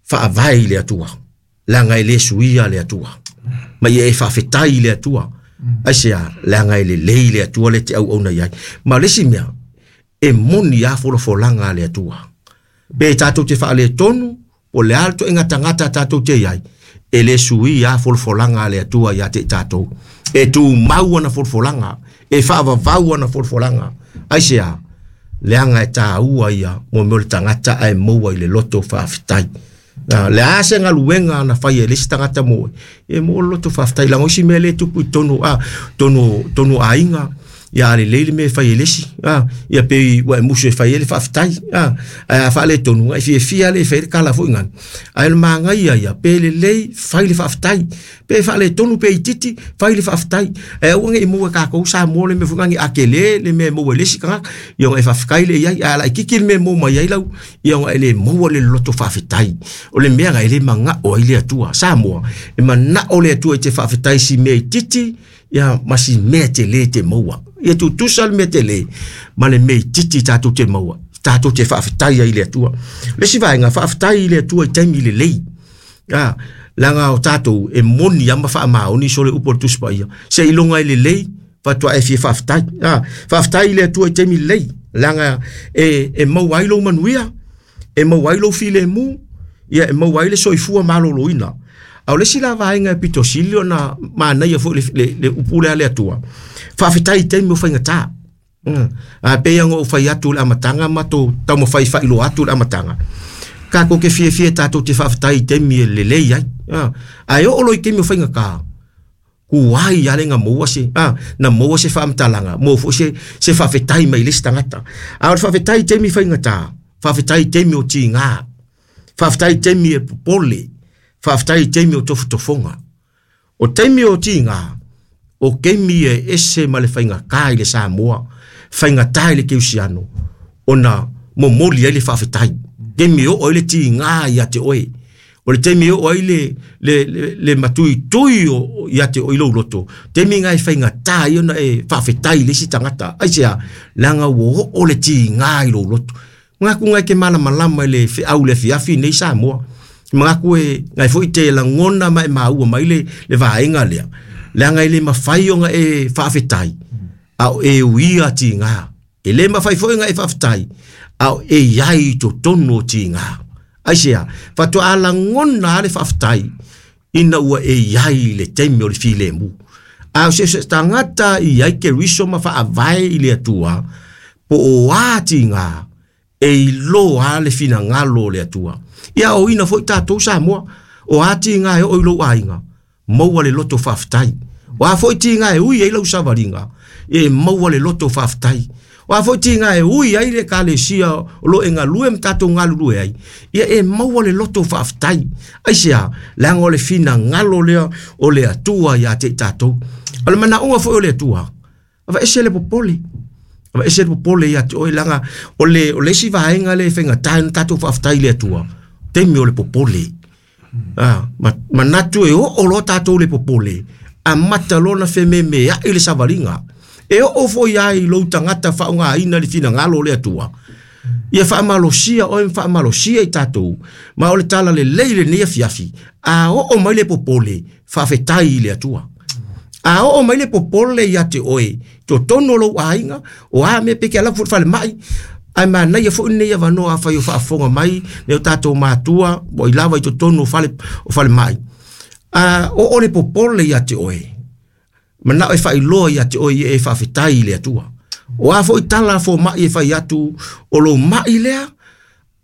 Faavae i le Atua, leaga e le suia le Atua. Ma ia e faafetai i le Atua. Aisea? Leaga e lelei le Atua le te auauna i ai. Ma o le isi mea, e moni lava folafolaga a le Atua. Pe tatou te faaletonu, po o le a le ituaiga tagata tatou te i ai, e le suia lava folafolaga a le Atua ia te i tatou. E tumau ana folafolaga, e faavavau ana folafolaga. Aisea? Leaga e taua ia mo mea o le tagata ae maua i le loto faafetai. Na, le a se galuega na fai e le isi tagata mo oe, e maua le loto faafetai. Leaga o isi mea lea e tupu i totonu, a, totonu, totonu o aiga, ia a lelei le mea e fai e le isi, a, ia pei ua e musu e fai ai le faafetai, a, ae a faaletonu, e fiafia lava e fai ai le tala foi nani. Ae o le manaia ia, pe lelei, fai le faafetai. Pe faaletonu pe itiiti, fai le faafetai. Ae aua ne i maua e tatou Samoa le mea foi lea a tele le mea e maua e le isi tagata, ia ona e faafetai lea i ai. Ae a laitiiti le mea e maua mai ai lau, ia ona e le maua le loto faafetai. O le mea lena e le manao ai le Atua. Samoa, e manao le Atua e te faafetai i si mea itiiti, ia ma si mea tele e te maua. Ia tutusa le mea tele ma le mea itiiti tatou te maua, tatou te faafetai ai i le Atua. O le isi vaega, faafetai i le Atua i taimi lelei. A, leaga o tatou e moni lava ma faamaoni sole upu o le Tusi Paia, seiloga e lelei faatoa e fia faafetai. A, faafetai i le Atua i taimi lelei, leaga e, e maua ai lou manuia, e maua ai lou filemu, ia e maua ai le soifua maloloina. A o le isi la vaega e pito sili ona manaia foi le, le, le upu lea a le Atua, faafetai i taimi o faigata. A pei ona ou fai atu i le amataga ma tou taumafai e faailoa atu i le amataga, tatou te fiafia tatou te faafetai i taimi e lelei ai. Ae oo loa i taimi o faigata, tuai lava le na maua se, na maua se faamatalaga, maua foi se, se faafetai mai le isi tagata. A o le faafetai i taimi faigata, faafetai i taimi o tiga, faafetai i taimi e popole, faafetai i taimi o tofotofoga. O taimi o tiga, o taimi e ese ma le faigata i le Samoa, faigata i le Keusiano, ona momoli ai le faafetai. Taimi e oo ai le tiga ia te oe, o le taimi e oo ai le, le, le, le matuitui o, ia te oe i lou loto, taimi na e faigata ai ona e faafetai i le isi tagata. Aisea? Leaga ua oo le tiga i lou loto. Manatu ngai te malamalama i le feau i le afiafi nei Samoa. Manatu e ngai foi te lagona ma e maua mai le, le vaega lea. Leaga e le mafai ona e faafetai, a o e uia tiga. E le mafai foi ona e faafetai, a o e i ai i totonu o tiga. Aisea? Faatoa lagona lava le faafetai ina ua e i ai i le taimi o le filemu. A o se tagata i ai Keriso ma faavae i le Atua, po o a tiga, e iloa le finagalo o le Atua. Ia aoina foi tatou Samoa, o a tiga e oo i lou aiga, maua le loto faafetai. O a foi tiga e ui ai lau savaliga, e maua le loto faafetai. O a foi tiga e ui ai le Ekalesia o lo o e galue ma tatou galulue ai, ia e maua le loto faafetai. Aisea? Leaga o le finagalo lea o le Atua ia te i tatou. O le manaoga foi o le Atua, aveese le popole. Aveese le popole ia te oe, leaga o le, o le isi vaega lea e faigata ai ona tatou faafetai i le Atua, taimi o le popole. Ah, manatu e oo loa tatou le popole, amata loa ona fememeai le savaliga. E oo foi lava i lou tagata faaaogaina le finagalo o le Atua, ia faamalosia oe ma faamalosia i tatou, ma o le tala lelei lenei afiafi, a oo mai le popole, faafetai i le Atua. A oo mai le popole ia te oe, totonu o lou aiga, o a mea pe te alu atu foi i le falemai, ae manaia foi lenei avanoa afai o faafofoga mai nai o tatou matua ua i lava i totonu o fale, o falemai. A oo le popole ia te oe, manao e faailoa ia te oe ia e faafetai i le Atua. O a foi tala a fomai e fai atu, o lou mai lea,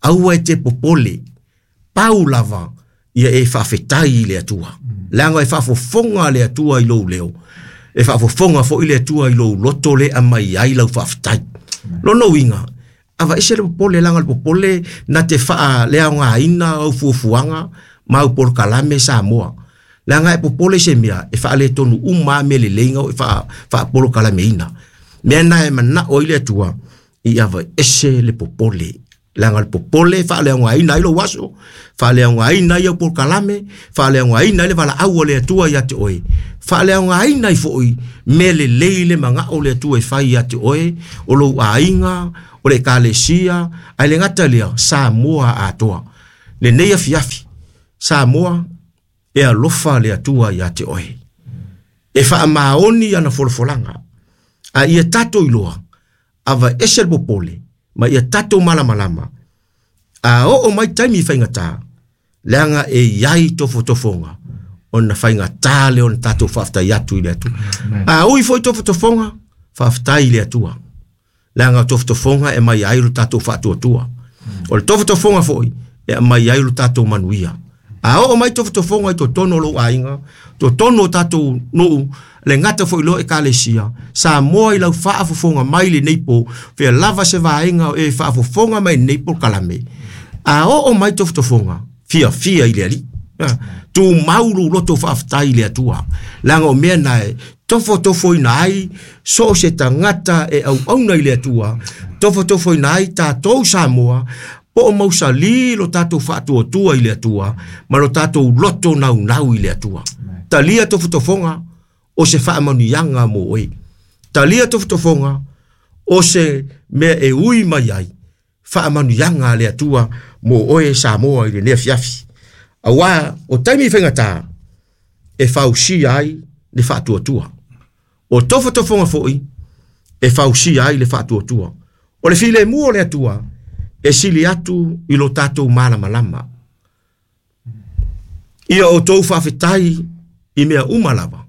aua e te popole. Pau lava ia e faafetai i le Atua. Leaga e faafofoga le Atua i lou leo, e faafofoga foi le Atua i lou loto le aumai ai lau faafetai. Lona uiga, aveese le popole, leaga o le popole na te faaleaogaina au fuafuaga ma au polokalame Samoa. Leaga e popole i se mea, e faaletonu uma lava mea lelei na e faapolokalameina. Mea na e manao ai le Atua, ia aveese le popole. Leaga o le popole e faaleaogaina ai lou aso, faaleaogaina ai au polokalame, faaleaogaina ai le valaau a le Atua ia te oe, faaleaogaina ai foi mea lelei le manao o le Atua e fai ia te oe, o lou aiga, o le Ekalesia, ae le gata i lea, Samoa atoa. Lenei afiafi, Samoa, e alofa le Atua ia te oe. E faamaoni ana folafolaga, a ia tatou iloa, aveese le popole, ma ia tatou malamalama, a oo mai taimi faigata, leaga e i ai tofotofoga, ona faigata lea ona tatou faafetai atu i le Atua. A ui foi tofotofoga, faafetai i le Atua. Leaga o tofotofoga e mai ai lo tatou faatuatua. O le tofotofoga foi, e aumai ai lo tatou manuia. A oo mai tofotofoga i totonu o lou aiga, totonu o tatou nuu, le gata foi loa ekalesia, Samoa i lau faafofoga mai lenei po, fea lava se vaega o e faafofoga mai lenei polokalame. A oo mai tofotofoga, fiafia i le Alii. Tumau lou loto faafetai i le Atua. Leaga o mea na e tofotofoina ai so o se tagata e auauna i le Atua, tofotofoina ai tatou Samoa, po o mausali lo tatou faatuatua i le Atua, ma lo tatou loto naunau i le Atua. Talia tofotofoga o se faamanuiaga mo oe. Talia tofotofoga o se mea e ui mai ai, faamanuiaga a le Atua mo oe Samoa i lenei afiafi. Auā o taimi faigata e fausia ai le faatuatua. O tofotofoga foi e fausia ai le faatuatua. O le filemu o le Atua e sili atu i lo tatou malamalama. Ia outou faafetai i mea uma lava,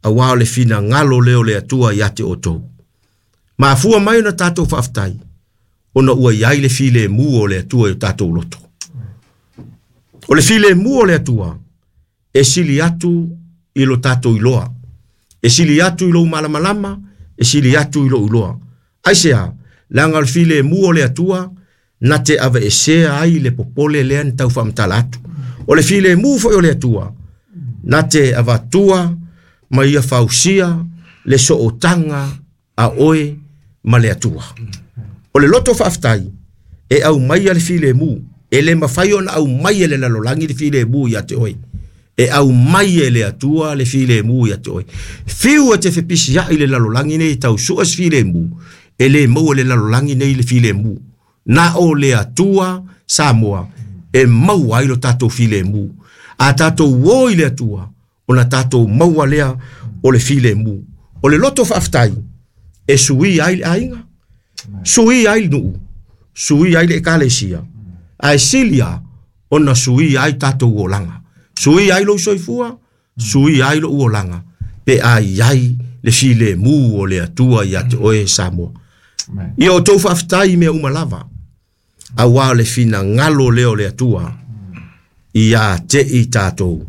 auā o le finagalo lea o le Atua ia te outou. Mafua mai ona tatou faafetai, ona ua i ai le filemu o le Atua i o tatou loto. O le filemu o le Atua e sili atu i lo tatou iloa. E sili atu i lou malamalama, e sili atu i lou iloa. Aisea? Leaga o le filemu o le Atua na te aveesea ai le popole lea na tau faamatala atu. O le filemu foi o le Atua na te avatua ma ia fausia le sootaga a oe ma le Atua. O le loto faafetai e aumaia le filemu, e le mafai ona aumai e le lalolagi le filemu ia te oe. E aumai e le Atua le filemu ia te oe. Fiu e te fepisiai i le lalolagi nei e tau sue se filemu, e le maua e le lalolagi nei le filemu. Na o le Atua Samoa e maua ai lo tatou filemu. A tatou o i le Atua, ona tatou maua lea o le filemu. O le loto faafetai e suia ai le aiga, suia ai le nuu, suia ai le ekalesia, ae sili lava ona suia ai tatou olaga. Suia ai lou soifua, suia ai lou olaga, pe a i ai le filemu o le Atua ia te oe Samoa. Ia outou faafetai i mea uma lava, auā o le finagalo lea o le Atua ia te i tatou,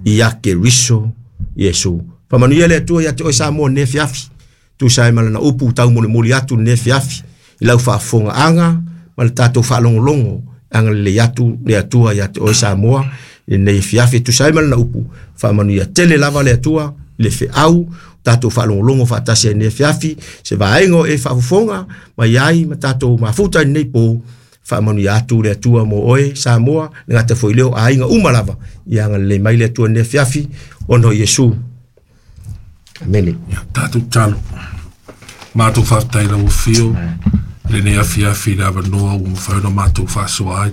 ia Keriso Iesu. Faamanuia le Atua ia te oe Samoa lenei afiafi, tusa ai ma lana upu taumolimoli atu lenei afiafi, i lau faafofogaaga ma le tatou faalogologo, e agalelei atu le Atua ia te oe Samoa i lenei afiafi, tusa ai ma lana upu. Faamanuia tele lava le Atua i le feau tatou faalogologo faatasi ai lenei afiafi, se vaega o e faafofoga mai ai ma tatou mafuta i lenei po. Faamanuia atu le Atua mo oe Samoa, le gata foi lea o aiga uma lava, ia agalelei mai le Atua i lenei afiafi, ona o Iesu. Amene. Ia, tatou tatalo. Matou faafetai lau afio i lenei afiafi i le avanoa ua mafai ona matou faasoa ai.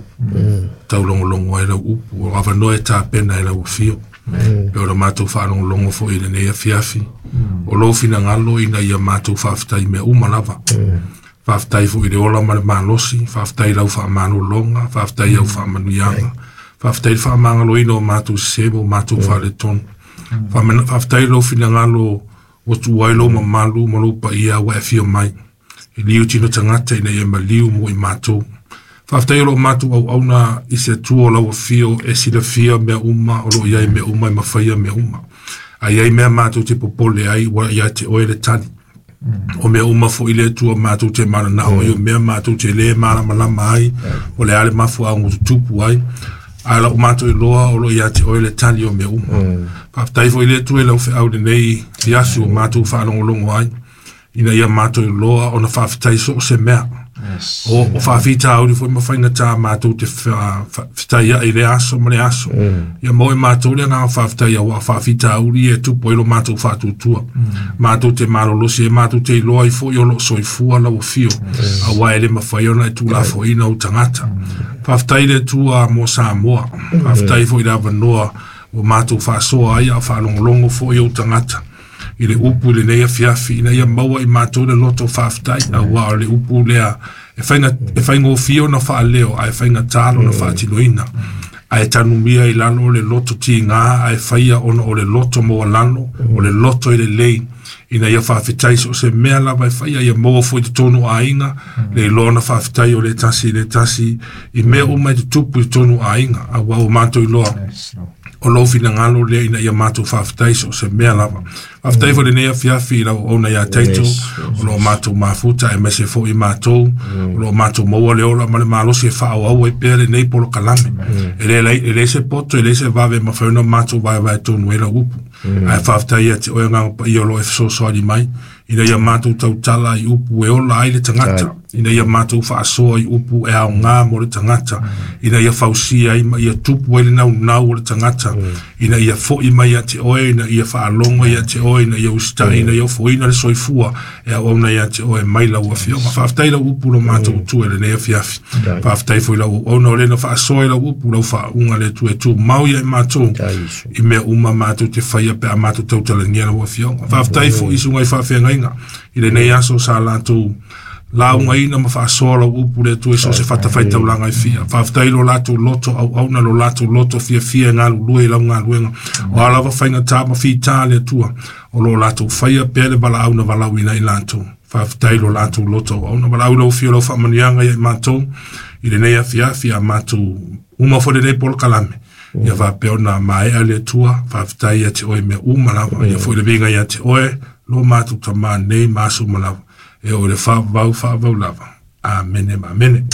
Taulogologo ai lau upu, o avanoa e tapena e lau afio. E ona matou faalogologo foi i lenei afiafi. O lou finagalo ina ia matou faafetai i mea uma lava. Faafetai foi i le ola ma le malosi, faafetai i lau faamalologa, faafetai i au faamanuiaga, faafetai i le faamagaloina o matou sese ma o matou faaletonu. Faafetai i lou finagalo ua tuua ai lou mamalu ma lou paia ua e afio mai. E liu tino tagata ina ia maliu mo i matou. Faafetai o lo o matou auauna i se Atua o lau afio e silafia mea uma, o lo o i ai mea uma e mafaia mea uma. A i ai mea matou te popole ai, ua ia te oe le tali. O mea uma foi le Atua matou te mananao ai, o mea matou te le malamalama ai, o le a le mafuaaga ua tutupu ai. Ae lau matou iloa o lo o ia te oe le tali o mea uma. Faafetai foi le Atua i lau feau lenei afiafi ua matou faalogologo ai, ina ia matou iloa ona faafetai so o se mea. O faafitauli foi ma faigata matou te fetaia'i i le aso ma le aso. Ia maua e matou le agaga faafetai auā faafitauli ia e tupu ai lo matou faatuatua. Matou te malolosi ai matou te iloa ai foi o loo soifua lau afio, auā e le mafai ona e tuulafoaiina ou tagata. Faafetai le Atua mo Samoa. Faafetai foi i le avanoa ua matou faasoa ai a o faalogologo foi ou tagata i le upu i lenei afiafi, ina ia maua i matou le loto faafetai, auā o le upu lea e faigofie ona faaleo ae faigata lona faatinoina. Ae tanumia i lalo o le loto tigā ae faia ona o le loto maualalo, o le loto e lelei, ina ia faafetai so o se mea lava e faia, ia maua foi i totonu o aiga le iloa ona faafetai o le tasi i le tasi i mea uma e tutupu i totonu o aiga, auā ua matou iloa o lou finagalo lea ina ia matou faafetai so o se mea lava. Faafetai foi lenei afiafi i lau auauna ia Taito, o lo o matou mafuta aemaise foi i matou, o lo o matou maua le ola ma le malosi e faaauau ai pea lenei polokalame. E leai se poto, e leai se vave e mafai ona matou vaevae tonu ai lau upu. Ae faafetai ia te oe Agaga Paia o lo o e fesoasoani mai, ina ia matou tautala i upu e ola ai le tagata, ina ia matou faasoa i upu e aoga mo le tagata, ina ia fausia ai ma ia tupu ai le naunau o le tagata, ina ia foi mai ia te oe, ina ia faalogo ia te oe, ina ia usitai, ina ia ofoina le soifua e auauna ia te oe mai lau afioga. Faafetai lau upu lo matou utu e lenei afiafi. Faafetai foi lau auauna o lena faasoa i lau upu, lau faauuga le Atua e tumau ia i matou i mea uma matou te faia pe a matou tautalagia lau afioga. Faafetai foi i susuga i faafeagaiga i lenei aso sa latou laugaina ma faasoa lau upu le Atua i so o se fatafaitaulaga e fia. Faafetai lo latou loto auauna, lo latou loto fiafia e galulue i lau galuega. O a lava faigata ma fita le Atua, o lo o latou faia pea le valaau na valaauina i latou. Faafetai lo latou loto auauna. Valaau lau afio lau faamanuiaga ia i matou i lenei afiafi a matou uma foi lenei polokalame. Ia faapea ona maea le Atua, faafetai ia te oe mea uma lava. Ia foi le viiga ia te oe, lo matou tamā nei ma aso uma lava. E oo i le faavavau, faavavau lava. Amene ma amene.